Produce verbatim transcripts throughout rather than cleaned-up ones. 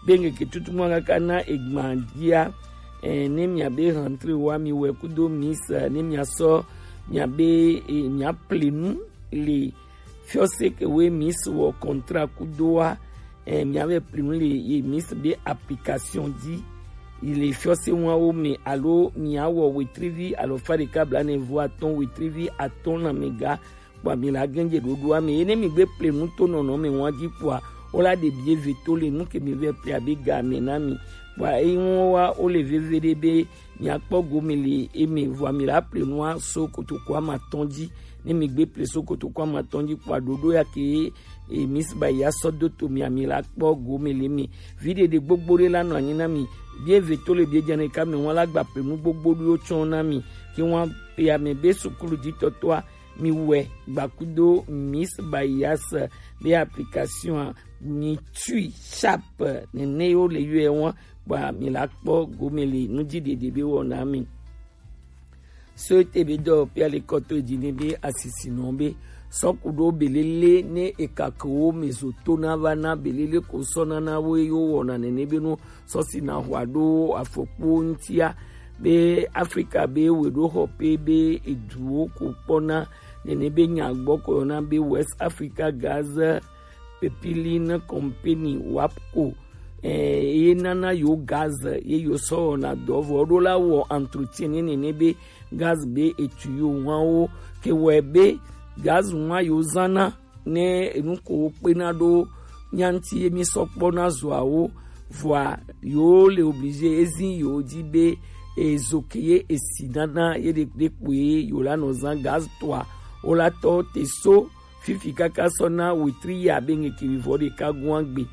Kpengeke tutu mwa kaka na egban dia, eh, ne miabe rentrée wa mi wɛ kudo Miss, eh, ne miasɔ miabe, eh, miaplenu le fiɔse ke we Miss wɔ contrat kudo wa, eh, miavɛ plenu le ye Miss be application di, yi le fiɔse wa wo me, alo miawɔ wetrivi, alo fa ɖeka bla ne vo atɔn wetrivi atɔn na mega, kpɔa mi la gɛnje ɖoɖoa me. Ye ne mi gbe plenu to nɔnɔ me wa di kpɔa, wo la ɖe bie ve to le nu ke mi vɛ ple abe ga me na mi. Kpɔa eyi ŋu wa wo le veve ɖe be mi akpɔ gome le eme, vɔa mi la ple nua so kotoko ama tɔn dzi. Ne mi gbe ple so kotoko ama tɔn dzi kpɔa, ɖoɖo ya ke e Miss Baya sɔ do to mi, ami la kpɔ gome le eme. Vi ɖeɖe gbogbo ɖe la nɔ anyi na mi. Bie ve to le bie dza ne ka me wa la gba ple nu gbogbo ɖo tsɔ na mi. Ke wa ya me be sukulu di tɔtɔa mi wɛ gbakudo Miss Bayas be application a, mi tui sharp nene yo le yɔe wɔn, kpɔa mi la kpɔ gome le nu dzi ɖeɖe be wɔna mi. So ete be dɔ pia le kɔtɔ dzi ne be asisi nɔ be sɔku ɖo belele ne eka ke wo me zo to na va na belele ko sɔ na na wo yo wɔna nene be nu sɔsi na hwa ɖo afɔkpo ŋutia, be Afrika be weɖoxɔƒe be eduwo ko kpɔna nene be nya gbɔ ko yɔna be West Africa Gas Pipeline Company, wapco, eh, ye nana yo gaz ye yo sɔ wɔna dɔ vɔ ɖo la wɔ entretien ne nene be gaz be etu yo ŋua wo ke wɛ be gaz ŋua yo zana ne enu ko wo kpena ɖo nyanti ye mi sɔ kpɔ na zoawo, vɔa yo le obligé ezi yo di be ezo ke ye esi nana ye ɖe ɖe kpoe yo la nɔ zan gaz toa, wo la tɔ te so fifi kaka sɔ na wetri ya be ŋeke vivɔ ɖeka gua gbe.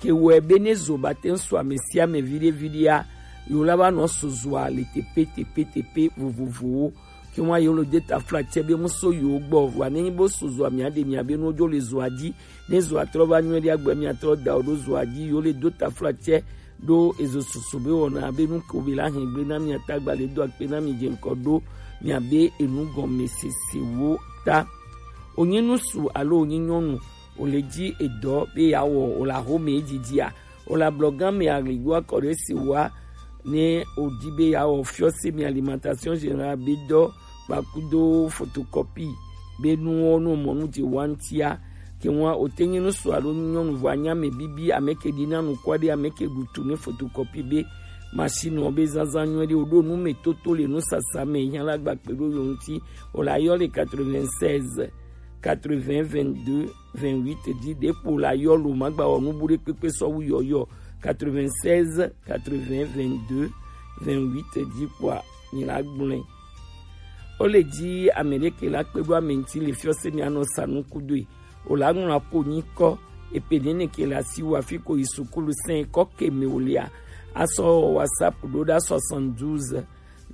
Ke wɛ be ne zo ba te ŋu so ame sia ame viɖe viɖea, yo la va nɔ so zoa le tepe tepe tepe vovovowo. Ke wa yo lo de taflatsɛ be mu so yo gbɔ, vɔa ne nyi bo so zoa mia ɖe mia be nu dzo le zoa dzi. Ne zoa trɔ va nyuie ɖe agbe mia trɔ da o ɖo zoa dzi, yo le do taflatsɛ ɖo ezo susu be wɔna be nu ko be la hɛn gble na mia tagba le do akpe na mi dze ŋkɔ ɖo mia be enu gɔme sese wo ta. Onyi nusu alo onyi nyɔnu, o le dzi edɔ be ya wɔ o la xo me dzidzi a, o la blɔ gã me aɣli do akɔ ɖe si wa ne o di be ya wɔ fiɔ se mi alimentation générale be dɔ kpakudo photocopie be nuwo nu mɔ nu dzi wa ŋutia. Ke ŋua o te nyi nusu alo nyɔnu vɔ anya me bibi ame ke ɖi na nu kɔ ɖe ame ke ɖu tu ne photocopie be machine wo be zazã nyuie ɖe o ɖo nu me toto le nu sasa me hiã la gba kpe ɖo yo ŋuti. O la yɔ le quatre-vingt-seize quatre-vingts vingt-deux vingt-huit dzi ɖe kpo la yɔ lo ma gba wɔ nu bu ɖe kpekpe sɔ wu yɔyɔ quatre-vingt-seize quatre-vingts vingt-deux vingt-huit dzi kpɔa nyi la gblɔe. O le dzi ame ɖe ke la kpe ɖo ame ŋuti le fiɔ se mi anɔ sa nu kudoe. O la ŋlɔ apo nyi kɔ epe nene ke la si wa fi ko yi sukulu sɛn kɔ ke me o lia. Asɔ WhatsApp ɖo ɖa soixante-douze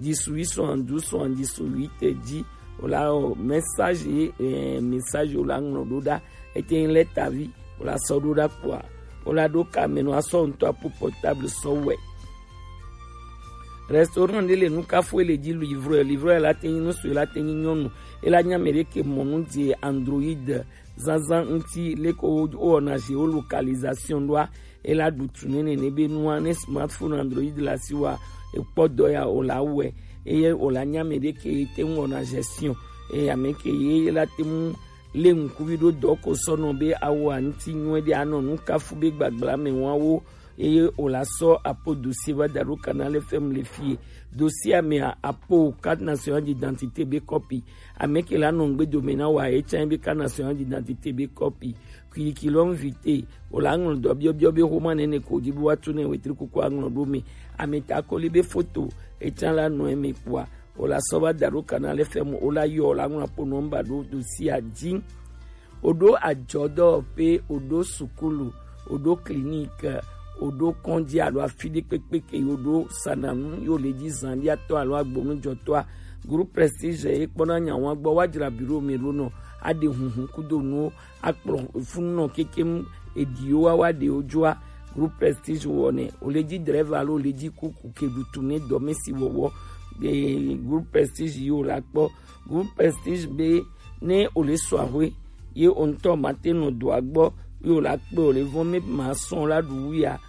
dix-huit soixante-douze soixante-dix-huit dzi. O la o message, eh, message o la ŋlɔ ɖo ɖa. Ete ŋ lɛ tavi o la sɔ ɖo ɖa kpɔa o la ɖo ka me nɔ asɔ ŋutɔ apo portable sɔ wɛ. Restaurant ɖe le nu kafu ele dzi livreur, livreur la te nyi nu sue la te nyi nyɔnu. E la nya me ɖe ke mɔ nu dzi Android zazã ŋuti leko wo wɔna géolocalisation ɖoa, e la ɖu tu ne nene be nua ne smartphone Android la si wa ekpɔ dɔ ya o la wɛ, eye o la nya me ɖe ke te ŋu wɔna gestion, eye ame ke ye la te mu le ŋkuvi ɖo dɔ ko sɔ nɔ be awo aŋuti nyuie ɖe anɔ nu kafu be gbagbla me wa wo, eye o la sɔ apo dossier va da ɖo Canal F M le fie. Dossier amea apo carte nationale d'identité be kɔpi. Ame ke la nɔ ŋgbe dome na wa ye tsã be carte nationale d'identité be kɔpi. Curriculum vitae, o la ŋlɔ dɔ biɔbiɔ be xoma nene ko di be wa tu ne wetri kuku aŋlɔ ɖo me. Ame ta kɔli be foto, etsã la nɔ eme kpɔa, o la sɔ va da ɖo Canal F M, o la yɔ, o la ŋlɔ apo nɔmba ɖo dossier dzi. O ɖo adzɔdɔwɔƒe, o ɖo sukulu, o ɖo clinique, o ɖo kɔdzi alo afi ɖe kpekpe ke yo ɖo sananu yo le dzi zan ɖi atɔ alo agbonujɔtɔa. Groupe Prestige ye kpɔna nya wa gbɔ wa dzra bureau me ɖo nɔ aɖe huhu kudo nuwo akplɔ funu nɔ kekem eɖiwo wa wa ɖewo dzoa. Groupe Prestige wɔnɛ, o le dzi drɛva alo o le dzi kuku ke ɖu tu ne dɔmesi wɔwɔ. Eh, Groupe Prestige yi o la kpɔ. Groupe Prestige be ne o le sɔ ahwe ye o ŋutɔ ma te nɔ dɔa gbɔ ye o la kpe o le vɔn me ma sɔn la ɖu wu ya,